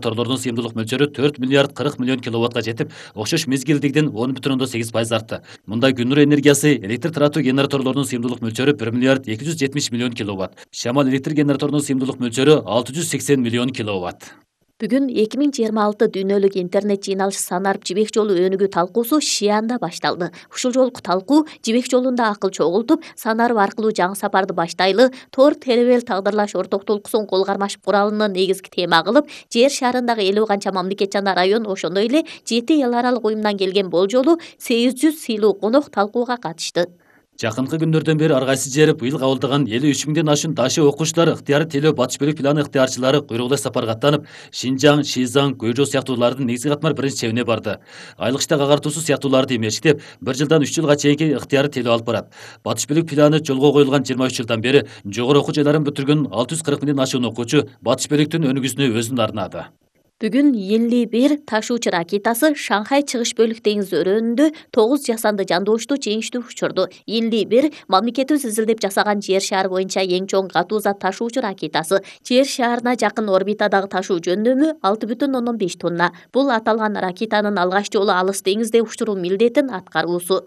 Торлордун сыйымдуулук мөлчөрү 4 миллиард 40 миллион киловаттка жетип, окшош мезгилдигиден 10,8% артты. Мында күн нуру энергиясы электр таратуу генераторлорунун сыйымдуулук мөлчөрү 1 миллиард 270 миллион киловатт. Шамал электр генераторунун сыйымдуулук мөлчөрү 680 миллион киловатт. Бүгүн 2026 дүйнөлүк интернет жыйналышы санарып жибек жолу өнүгүү талкуусу Шианда башталды. Ушул жолку талкуу жибек жолунда акыл чогултуп, санарып аркылуу жаңы сапарды баштайлы, Тор Теребел тагдырлаш орток толкуусун кол кармашып куралын негизги тема кылып, жер шарындагы 50 канча мамлекет жана район, ошондой эле 7 эл аралык уюмдан келген болжолу 800 сыйлуу конок талкууга катышты. Жакынкы күндөрдөн бери ар кайсы жер быйыл кабылдаган 53 миңден ашуун дашы окуучулар ыктыяры тейлөө батыш бөлүк планы ыктыярчылары куйругудай сапарга аттанып, Шинжаң, Шизаң, Көйжо сыяктуулардын негизги катмар биринчи чебине барды. Айлык иштек агартуусу сыяктууларды эмештеп, 1 жылдан 3 жылга чейинки ыктыяры тейлөө алып барат. Батыш бөлүк планы жолго коюлган 23 жылдан бери жогору окуу жайларын бүтүргөн 640 миңден ашуун окуучу батыш бөлүктүн өнүгүүсүнө өзүн арнады. Бүгүн Йинли-1 ташуучу ракетасы Шанхай чыгыш бөлүк деңиз өрөөнүндө 9 жасанды жандоочту жеңиштүү учурду. Йинли-1 мамлекетибиз изилдеп жасаган жер шаары боюнча эң чоң катуу зат ташуучу ракетасы. Жер шаарына жакын орбитадагы ташуу жөндөмү 6,5 тонна. Бул аталган ракетанын алгач жолу алыс деңизде учуруу милдетин аткаруусу.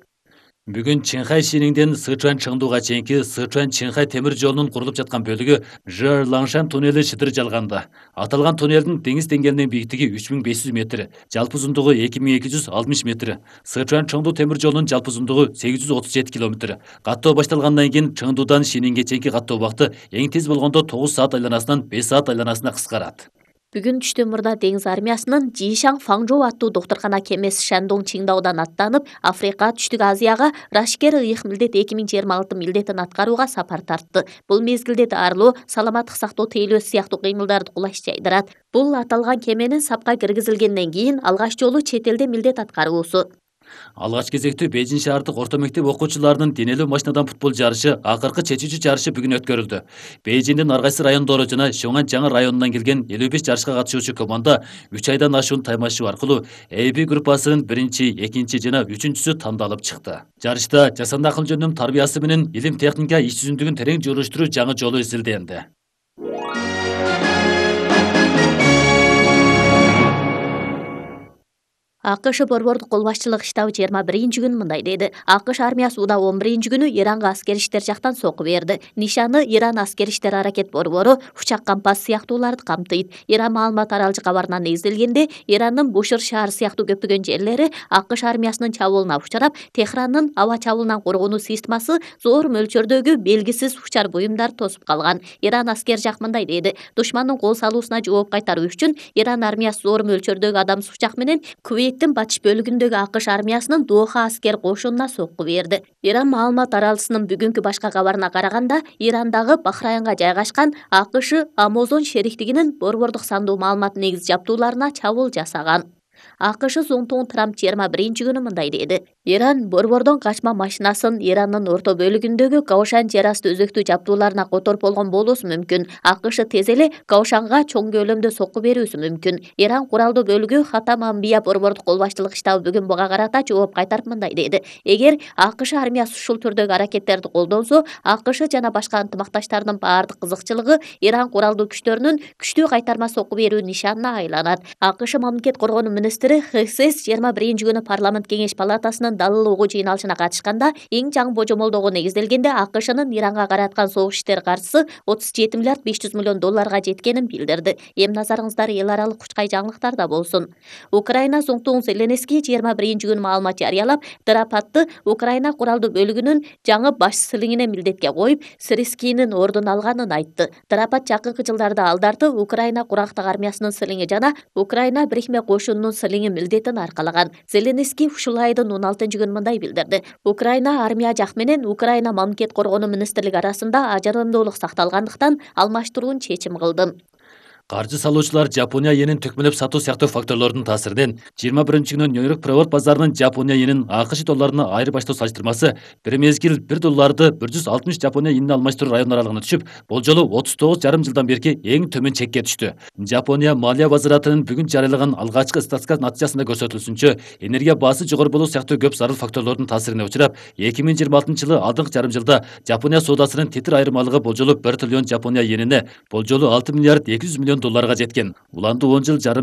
Бүгүн Чинхай Шиниңден Сычуань Чыңдууга чейинки Сычуань Чинхай темир жолунун курулуп жаткан бөлүгү Жер Лаңшан туннели шыдыр жалганды. Аталган туннелдин деңиз деңгээлинин бийлиги 3500 метр, жалпы узундугу 2260 метр. Сычуань Чыңдуу темир жолунун жалпы узундугу 837 километр. Каттоо башталгандан кийин Чыңдуудан Шиниңге чейинки каттоо убакыты эң тез болгондо 9 саат айланасынан 5 саат айланасына кыскарат. Бүгүн түштөн мурда деңиз армиясынын Жишаң Фаңжоу аттуу доктуркана кемеси Шандong Чиңдаодан аттанып, Африка, Түштүк Азияга Рашкер ыйык милдет 2026 милдетин аткарууга сапар тартты. Бул мезгилде дарылоо, саламаттык сактоо тейлөөсү сыяктуу кыймылдарды кулаш жайдырат. Бул аталган кеменин сапка киргизилгенден кийин алгач жолу чет элде милдет аткаруусу. Алгач кезектүү Бейжин шаардык орто мектеп окуучуларынын денелүү машинадан футбол жарышы акыркы чечүүчү жарышы бүгүн өткөрүлдү. Бейжиндин ар кайсы райондору жана Шоңан жаңы районунан келген 55 жарышка катышуучу команда 3 айдан ашуун таймашуу аркылуу AB группасынын 1-чи, 2-чи жана 3-чүсү тандалып чыкты. Жарышта жасанды акыл жөнүнүн тарбиясы менен илим техника иш жүзүндүгүн терең журуштуруу жаңы жолу изилденди. АКШ борбордук кол башчылык штабы 21-күнү мындай деди. АКШ армиясы Уда 11-күнү Иранга аскери иштер жактан сокку берди. Нишаны Иран аскери иштер аракет борбору учак кампас сыяктууларды камтыйт. Иран маалымат аралжы кабарына негизделгенде, Ирандын Бушыр шаары сыяктуу көптөгөн жерлери АКШ армиясынын чабуулуна учурап, Техрандын аба чабуулунан коргонуу системасы зор мөлчөрдөгү белгисиз учар буюмдар тосуп калган. Иран аскер жак мындай деди. Душмандын кол салуусуна жооп кайтаруу үчүн Иран армиясы зор мөлчөрдөгү адамсыз учак менен Кувейттин батыш бөлүгүндөгү АКШ армиясынын Доха аскер кошунуна сокку берди. Иран маалымат аралжысынын бүгүнкү башка кабарына караганда, Ирандагы Бахрайнга жайгашкан АКШ Амазон шериктигинин борбордук сандуу маалымат негиз жабдууларына чабуул жасаган. АКШ Зоңтоң Трамп 21-күнү мындай деди. Иран борбордон качма машинасын Ирандын орто бөлүгүндөгү Каошан жер асты өзөктүү жабдууларына которуп болгон болуусу мүмкүн. АКШ тез эле Каошанга чоң көлөмдө сокку берүүсү мүмкүн. Иран куралдуу бөлүгү Хатам Амбия борбордук кол башчылык штабы бүгүн буга карата жооп кайтарып мындай деди. Эгер АКШ армиясы ушул түрдөгү аракеттерди колдонсо, АКШ жана башка ынтымакташтардын баардык кызыкчылыгы Иран куралдуу күчтөрүнүн күчтүү кайтарма сокку берүү нишанына айланат. АКШ мамлекет коргонуу министри ХСС 21-күнү парламент кеңеш палатасынын далыл угуу жыйналышына катышканда эң жаңы божомолдоого негизделгенде АКШнын Иранга караткан согуш иштери каржысы 37 миллиард 500 миллион долларга жеткенин билдирди. Эми назарыңыздар эл аралык кучкай жаңылыктарда болсун. Украина Зоңтоң Зеленский 21-күнү маалымат жарыялап, Драпатты Украина куралдуу бөлүгүнүн жаңы баш силиңине милдетке коюп, Сирскийнин ордун алганын айтты. Драпат жакынкы жылдарда алдарты Украина курактык армиясынын силиңи жана Украина бирикме кошунунун силиңи милдетин аркалаган. Зеленский ушул айдын 16-күнү мындай билдирди. Украина армия жак менен Украина мамлекет коргонуу министрлиги арасында ажырымдуулук сакталгандыктан алмаштыруун чечим кылдым. Каржы салуучулар Жапония йенин төкмөлөп сатуу сыяктуу факторлордун таасиринен 21-күнү Нью-Йорк Приват базарынын Жапония йенин АКШ долларына айырбаштоо салыштырмасы бир мезгил 1 долларды 160 Жапония йенине алмаштыруу район аралыгына түшүп, бул жолу 39,5 жылдан берки эң төмөн чекке түштү. Жапония малия базаратынын бүгүн жарыялаган алгачкы статистика натыйжасында көрсөтүлсүнчө, энергия баасы жогору болуу сыяктуу көп зарыл факторлордун таасирине учурап, 2026-жылы алдыңкы жарым жылда Жапония соодасынын тетир айырмалыгы бул жолу 1 триллион Жапония йенине, бул жолу 6 миллиард 200 миллион $1 триллион жеткен. Уланды 10 жыл жарым